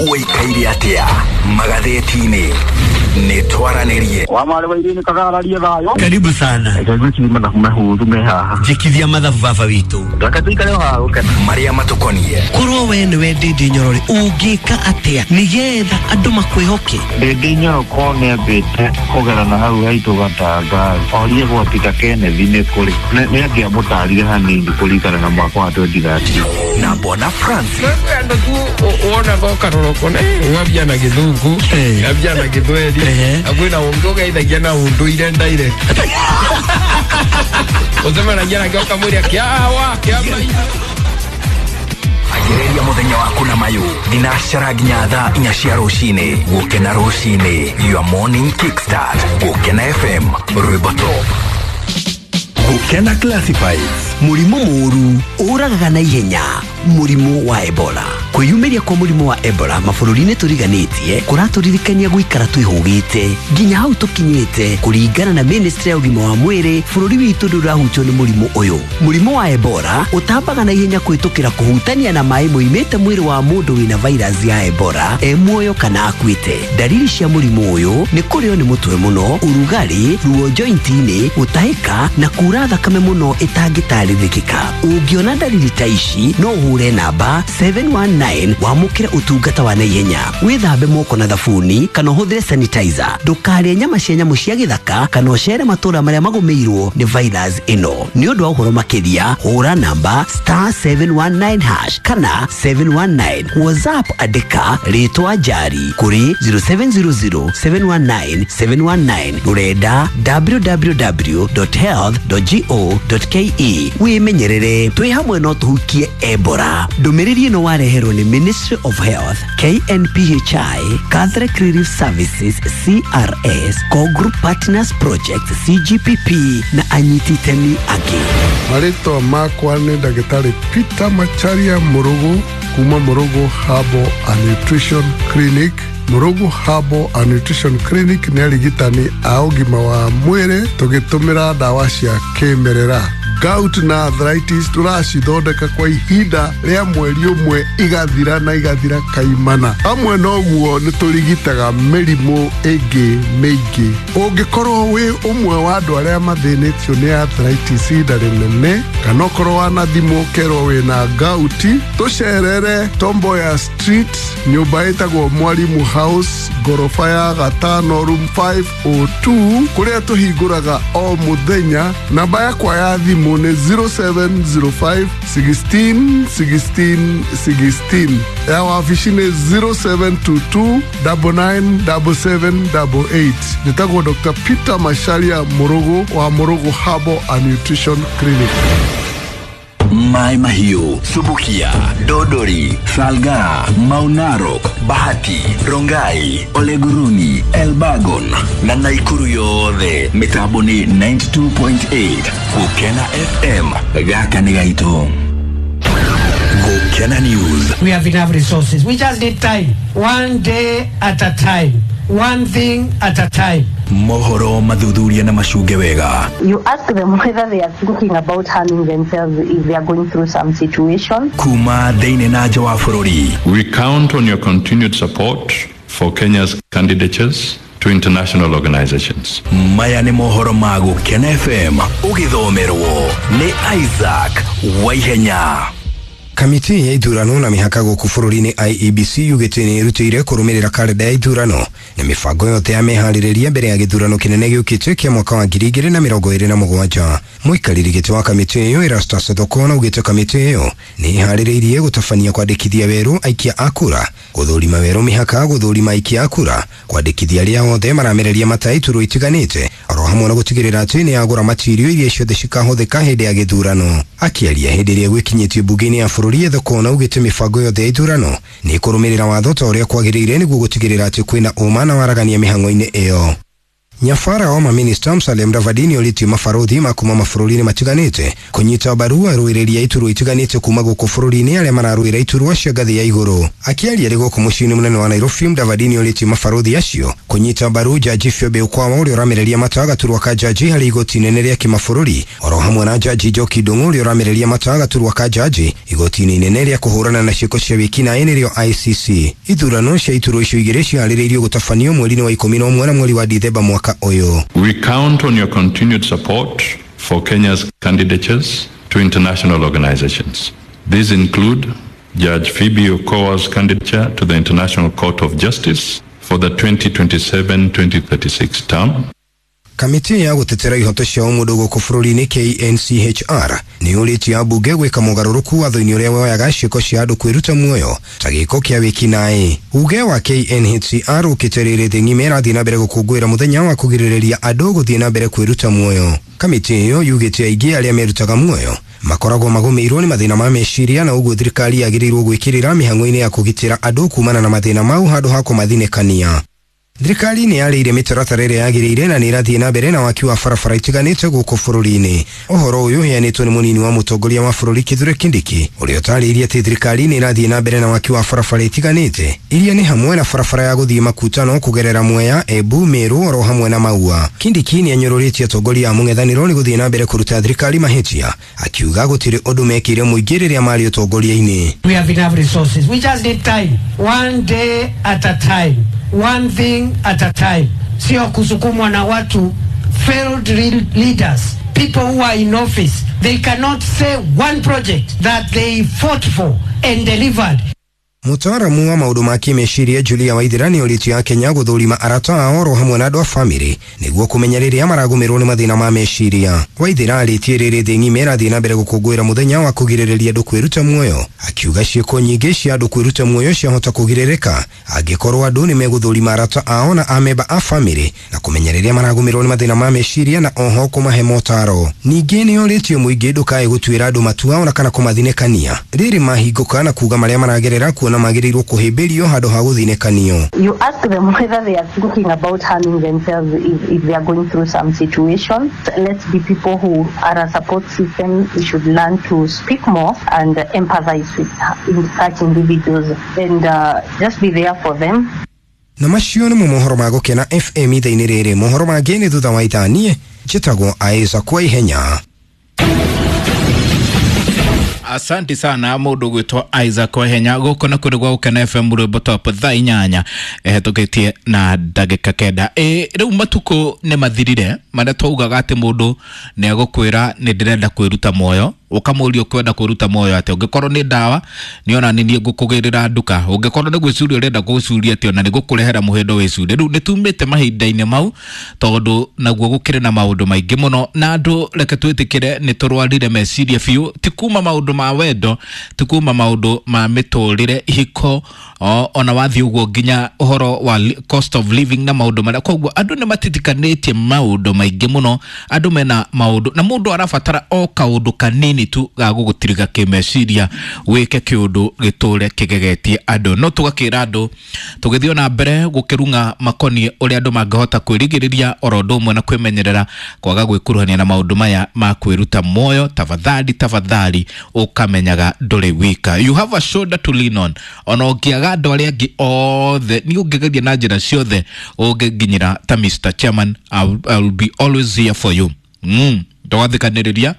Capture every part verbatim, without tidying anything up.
Ũikaire atĩa magathĩti-inĩ? Nĩ twaranĩrie. Wa marĩ wa irini kagararie thayũ. Karibu sana. Reke mathabu mahũthũ me haha. Njĩkithia mathabu baba witũ. Reke tũikare o haha gũkena. Marĩa matũkonie. Korwo we nĩwe Ndindi Nyoro rĩ, ũngĩka atĩa nĩgetha andũ makwĩhoke? Ndindi Nyoro ko nĩambĩte kũgera na hau haitũ Gatanga, orie gwa Peter Kenneth nĩ kũrĩ. Nĩ angĩamũtarire hanini kũringana na mwaka wa twenty thirteen. Na Bwana Francis. Andũ tu wonaga ũkarora ũkona, eh, ng'ambia na Gĩthũngũ, ng'ambia na Gĩthweri, na kwĩna ũngĩ ũgeithagia na ũndũire direct. Ũcemanagia nake ũkamwĩra kĩawa, kĩama. Anjĩrĩria mũthenya waku na mayũ thinacara nginya thaa inya cia rũcinĩ. Gũkena rũcinĩ, your morning kickstart. Gũkena F M, rwĩmbo top. Gũkena Classifieds. Mũrimũ mũũru ũragaga na ihenya, mũrimũ wa Ebola. Kwĩyumĩria kwa mũrimũ wa Ebola mabũrũri-inĩ tũriganĩtie kũratũririkania gũikara twĩhũgĩte nginya hau tũkinyĩte. Kũringana na Ministry ya ũgima wa mwĩrĩ, bũrũri witũ ndũrahutio nĩ mũrimũ ũyũ. Mũrimũ wa Ebola ũtambaga na ihenya kũhĩtũkĩra kũhutania na maĩ moimĩte mwĩrĩ wa mũndũ wĩna virus ya Ebola e muoyo kana akuĩte. Dalili cia mũrimũ ũyũ nĩ kũrĩo nĩ mũtwe mũno, ũrugarĩ, ruo joint-inĩ, gũtahĩka na kura thakame mũno ĩtangĩtarĩrĩkĩka. Ũngĩona dalili ta ici no ũhũre namba seven one nine wamũkĩre ũtungata wa naihenya. Wĩthambe moko na thabuni kana ũhũthĩre sanitizer. Ndũkarĩe nyama cia nyamũ cia gĩthaka kana ũcere matũũra marĩa magũmĩirwo nĩ virus ĩno. Nĩ ũndũ wa ũhoro makĩria hũra namba star seven one nine hash kana seven one nine. WhatsApp andĩka rĩtwa Njari kũrĩ zero seven zero zero seven one nine seven one nine, rũrenda w w w dot health dot go dot k e. Wĩmenyerere, twĩ hamwe no tũhukie Ebola. Ndũmĩrĩri ĩno wareherwo nĩ Ministry of Health, K N P H I, Catholic Relief Services C R S, Core Group Partners Project C G P P na anyiti itemi angĩ. Marĩtwa makwa nĩ Ndagĩtarĩ Peter Macharia Mũrũgũ kuma Mũrũgũ Herbal and Nutrition Clinic. Mũrũgũ Herbal and Nutrition Clinic nĩ arigitani a ũgima wa mwĩrĩ tũgĩtũmĩra ndawa cia kĩmerera. Gout na arthritis tũracithondeka kwa ihinda rĩa mweri ũmwe igathira na igathira kaimana. Hamwe na ũguo nĩ tũrigitaga mĩrimũ ĩngĩ mĩingĩ. Ũngĩkorwo wĩ ũmwe wa andũ arĩa mathĩnĩtio nĩ arthritis ihinda rĩnene, kana ũkorwo wanathimwo ũkerwo wĩna gout, tũcerere Tomboya Street, nyũmba ĩtagwo Mwalimu House, ngoroba ya gatano, room five oh two, kũrĩa tũhingũraga o mũthenya. Namba yakwa ya thimũ nĩ zero seven zero five sixteen sixteen sixteen. Ya wabici nĩ zero seven two two double nine double seven double eight. Njĩtagwo Doctor Peter Macharia Mũrũgũ wa Mũrũgũ Herbal and Nutrition Clinic. Mai Mahiu, Subukia, Dodori, Salga, Maunarok, Bahati, Rongai, Oleguruni, Elbagon na Naikuru yothe. Mitambo ni ninety-two point eight Gukena F M. Gaka nĩ gaitũ. Gukena News. We have enough resources. We just need time. One day at a time. One thing at a time. Mohoro mathuthuria na macunge wega. You ask them whether they are thinking about harming themselves if they are going through some situation. Kuma thĩinĩ na nja wa bũrũri. We count on your continued support for Kenya's candidatures to international organizations. Maya nĩ mohoro ma Gukena F M ũgĩthomerwo nĩ Isaac Waihenya. Kamiti ya ithurano na mĩhaka gũkũ bũrũri-inĩ I E B C yugĩte nĩ ĩrutĩire kũrũmĩrĩra karenda ya ithurano na mĩbango yothe ya meharĩrĩria mbere ya gĩthurano kĩnene gĩũkĩte kĩa mwaka wa ngiri igĩrĩ na mĩrongo ĩrĩ na mũgwanja. Mũikarĩri gĩtĩ wa kamĩtĩ ĩyo Erastus Thokona augĩte kamĩtĩ ĩyo nĩ ĩharĩrĩirie gũtabania kwandĩkithia werũ aikia a kura, gũthũrima werũ mĩhaka, gũthũrima aikia a kura, kwandĩkithia arĩa othe maramereria mata iturwa itiganĩte, oro hamwe na gũtigĩrĩra atĩ nĩ yagũra matirio iria ciothe cikahũthĩka hĩndĩ ya gĩthurano. Akĩaria hĩndĩ ĩrĩa gwĩkinyĩtio mbunge-inĩ ya bũrũri Thokona augĩte mĩbango yothe ya ithurano nĩ ĩkũrũmĩrĩra watho ta ũrĩa kwagĩrĩire nĩguo gũtigĩrĩra atĩ kwĩna ũma na waragania mĩhang'o-inĩ ĩyo. Nyabara wa maminista Musalia Mudavadi nĩorĩtie mabarothi ma kuma mabũrũri-inĩ matiganĩte kũnyita mbaru arũĩrĩri a iturwa itiganĩte kuma gũkũ bũrũri-inĩ arĩa mararũĩra iturwa cia ngathĩ ya igũrũ. Akĩaria arĩ gũkũ mũciĩ-inĩ mũnene wa Nairobi, Mudavadi nĩorĩtie mabarothi acio kũnyita mbaru Jaji Phoebe Okwawa ũrĩa ũramereria mata gaturwa ka jaji harĩ igoti inene rĩa kĩmabũrũri, oro hamwe na Jaji Njoki Ndung'u ũrĩa ũramereria mata gaturwa ka jaji igoti-inĩ inene rĩa kũhũrana na ciĩko cia wĩkinaĩ nĩrĩo I C C. Ithurano cia iturwa icio igĩrĩ ciharĩrĩirio gũtabanio mweri-inĩ wa ikũmi na ũmwe na mweri wa Dithemba mwaka ũyũ. We count on your continued support for Kenya's candidatures to international organizations. These include Judge Phoebe Okowa's candidature to the International Court of Justice for the twenty twenty-seven twenty thirty-six term. Kamĩtĩ ya gũtetera ihoto cia ũmũndũ gũkũ bũrũri-inĩ K N C H R nĩyũrĩtie ambunge gwĩka mũgarũrũku watho-inĩ ũrĩa woyaga ciĩko cia andũ kwĩruta muoyo ta gĩko kĩa wĩkinaĩ. Uge wa K N H C R ũkĩte rĩrĩ thĩ ng'ima ĩrathiĩ na mbere gũkũngũĩra mũthenya wa kũgirĩrĩria andũ gũthiĩ na mbere kwĩruta muoyo. Kamĩtĩ ĩyo yugĩte aingĩ arĩa merutaga muoyo makoragwo magũmĩirwo nĩ mathĩna ma meciria na ũguo thirikari yagĩrĩirwo gwĩkĩrĩra mĩhang'o-inĩ ya kũgitĩra andũ kumana na mathĩna mau handũ ha kũmathinĩkania. Thirikari nĩ yarĩire mĩtaratara ĩrĩa yagĩrĩire na nĩ ĩrathiĩ na mbere na waki wa barabara itiganĩte gũkũ bũrũri-inĩ. Ũhoro ũyũ ũheanĩtwo nĩ mũnini wa mũtongoria wa bũrũri Kithure Kindiki ũrĩa ũtarĩirie atĩ thirikari nĩ ĩrathiĩ na mbere na waki wa barabara itiganĩte iria nĩ hamwe na barabara ya gũthiĩ Makutano kũgerera Mwea, Embu, Meru oro hamwe na Maua. Kindiki nĩ anyũrũrĩtie atongoria a mũng'ethanĩro nĩ gũthiĩ na mbere kũruta thirikari mahĩtia, akiuga gũtirĩ ũndũ mekĩire mũingĩ rĩrĩa marĩ ũtongoria-inĩ. We have enough resources. We just need time. One day at a time. One thing at a time. Sio kusukumwa na watu failed leaders, people who are in office. They cannot say one project that they fought for and delivered. Mũtaaramu wa maũndũ ma kĩmeciria Julia Waithera nĩorĩtie Akenya gũthũrima arata ao oro hamwe na andũ a bamĩrĩ nĩguo kũmenya rĩrĩa maragũmĩrwo nĩ mathĩna ma meciria. Waithera arĩtie rĩrĩ thĩ ng'ima ĩrathiĩ na mbere gũkũngũĩra mũthenya wa kũgirĩrĩria andũ kwĩruta muoyo, akiuga ciĩko nyingĩ cia andũ kwĩruta muoyo ciahota kũgirĩrĩka angĩkorwo andũ nĩ megũthũrima arata ao na amemba a bamĩrĩ na kũmenya rĩrĩa maragũmĩrwo nĩ mathĩna ma meciria na oho kũmahe motaro. Ningĩ nĩorĩtie mũingĩ ndũkae gũtuĩra andũ matua ona kana kũmathinĩkania rĩrĩ mahingũka na kuuga marĩa maragerera kuona magĩrĩirwo kũhĩmbĩrio handũ ha gũthinĩkanio. You ask them whether they are thinking about harming themselves if, if they are going through some situation. Let's be people who are a support system. We should learn to speak more and empathize with such individuals and uh, just be there for them. Na macio nĩ mohoro ma Gũkena F M ithaa-inĩ rĩrĩ. Mohoro mangĩ nĩ thutha wa ithaa. Niĩ njĩtagwo Isaac kwa ihenya. Asante sana mundu gwitwo Isaac Wahenya guku na kuri gwa Gũkena F M rwimbo top thaa inyanya ehĩtũkĩtie na ndagĩka kenda. Ĩ rĩu matukũ nĩ mathirire marĩa twaugaga atĩ mũndũ nĩ egũkwĩra nĩ ndĩrenda kwĩruta muoyo, ũkamũria ũkwenda kwĩruta muoyo atĩa, ũngĩkorwo nĩ ndawa nĩ ona nĩ niĩ ngũkũgĩrĩra nduka, ũngĩkorwo nĩ gwĩcuria ũrenda gwĩcuria atĩ ona nĩ ngũkũrehera mũhĩndo wĩcurie. Rĩu nĩ tumĩte mahinda-inĩ mau tondũ naguo gũkĩrĩ na maũndũ maingĩ mũno na andũ reke twĩtĩkĩre nĩ tũrwarire meciria biũ, ti kuma maũndũ ma wendo, ti kuma maũndũ ma mĩtũrĩre ihiko ona wathiĩ ũguo nginya ũhoro wa cost of living na maũndũ marĩa, koguo andũ nĩ matitikanĩtie maũndũ maingĩ mũno, andũ mena maũndũ na mũndũ arabatara o kaũndũ kanini tu ga gũgũtiriga kĩmeciria wĩke kĩũndũ gĩtũre kĩgegetie andũ. No tũgakĩra andũ tũgĩthiĩ na mbere gũkĩrung'a makoniĩ ũrĩa andũ mangĩhota kwĩrigĩrĩria oro ũndũ ũmwe na kwĩmenyerera kwaga gwĩkuruhania na maũndũ maya ma kwĩruta muoyo. Tafadhali tafadhali ũkamenyaga ndũrĩ wika, you have a shoulder to lean on. Ona ũngĩaga andũ arĩa angĩ othe nĩ ũngĩgeria na njĩra ciothe ũngĩnginyĩra ta Mister Chairman, I will, I will be always here for you. Mm, ndũgathikanĩrĩria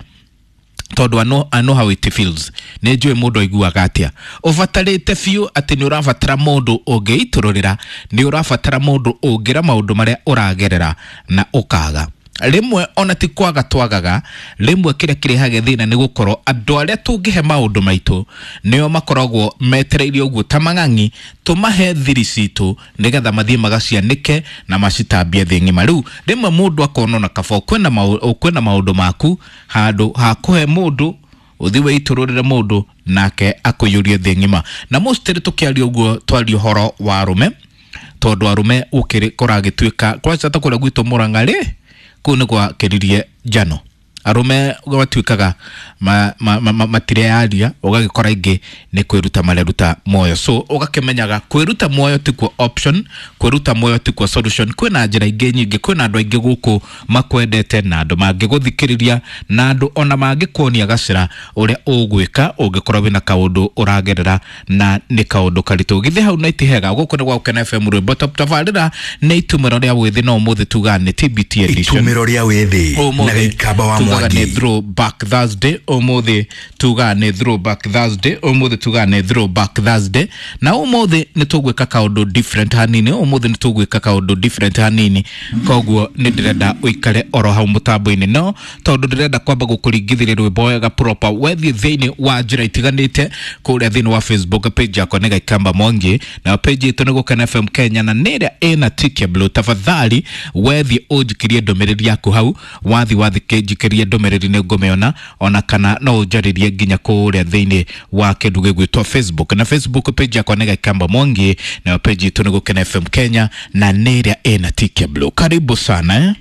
tondu I know, I know how it feels. Nĩ njũĩ mũndũ aiguaga atĩa ũbatarĩte biũ atĩ nĩ ũrabatara mũndũ ũngĩitũrũrĩra, nĩ ũrabatara mũndũ ũngĩra maũndũ marĩa ũragerera na ũkaga. Rĩmwe ona ti kwaga twagaga, rĩmwe kĩrĩa kĩrehaga thĩna nĩ gũkorwo andũ arĩa tũngĩhe maũndũ maitũ nĩo makoragwo metereire ũguo ta mang'ang'i tũmahe thiri citũ nĩgetha mathiĩ magacianĩke na macitambie thĩ ng'ima. Rĩu rĩmwe mũndũ akona ona kaba ũkwĩna ũkwĩna maũndũ maku handũ ha kũhe mũndũ ũthiĩ wĩitũrũrĩre mũndũ nake akũiyũrie thĩ ng'ima. Na mostly tũkĩaria ũguo twaria ũhoro wa arũme tondũ arũme ũkĩrĩ kũragĩtuĩka kwanja ta kũrĩa gwitũ Mũrang'a rĩ kũu nĩ gwakĩririe njano Arume matuĩkaga ma, ma, ma, ma, matireyaria, ũgagĩkora ingĩ nĩ kwĩruta mareruta muoyo. So ũgakĩmenyaga kwĩruta muoyo tikuo option, kwĩruta muoyo tikuo solution. Kwĩna njĩra ingĩ nyingĩ, kwĩna andũ aingĩ gũkũ makwendete na andũ mangĩgũthikĩrĩria na andũ ona mangĩkuonia gacĩra ũrĩa ũgwĩka ũngĩkorwo wĩna kaũndũ ũragerera na nĩ kaũndũ karitũ. Githĩ hau na itihega? Gũkũ nĩ gwa Gũkena F M rwĩmbo top. Tabarĩra nĩ itumĩro rĩa wĩthĩ, no ũmũthĩ tugaga nĩ T B T edition. Itumĩro rĩa wĩthĩ Ũmũthĩ na Gĩikamba wa tugaga Mwangi. nĩ Throwback Thursday. Ũmũthĩ tugaga nĩ Throwback Thursday. Ũmũthĩ tugaga nĩ Throwback Thursday. Na ũmũthĩ nĩ tũgwĩka kaũndũ different hanini. Ũmũthĩ nĩ tũgwĩka kaũndũ different hanini, koguo nĩ ndĩrenda ũikare oro hau mũtambo-inĩ, no tondũ ndĩrenda kwamba gũkũringithĩria rwĩmbo wega proper. Wethiĩ thĩinĩ wa njĩra itiganĩte kũrĩa thĩinĩ wa Facebook page yakwa nĩ Gĩikamba Mwangi, na page itũ nĩ Gũkena F M Kenya, na nĩ ĩrĩa ĩna tick ya blue. Tafadhali wethiĩ ũnjikirie ndũmĩrĩri yaku hau, wathi wathi njikĩrie ndũmĩrĩri nĩ ngũmĩona, ona kana no ũnjarĩrie nginya kũrĩa thĩinĩ wa kĩndũ gĩgwĩtwo Facebook. Na Facebook page yakwa nĩ Gĩikamba Mwangi, na page itũ nĩ Gũkena F M Kenya, na nĩ ĩrĩa ĩna tick ya blue. Karibu sana eh?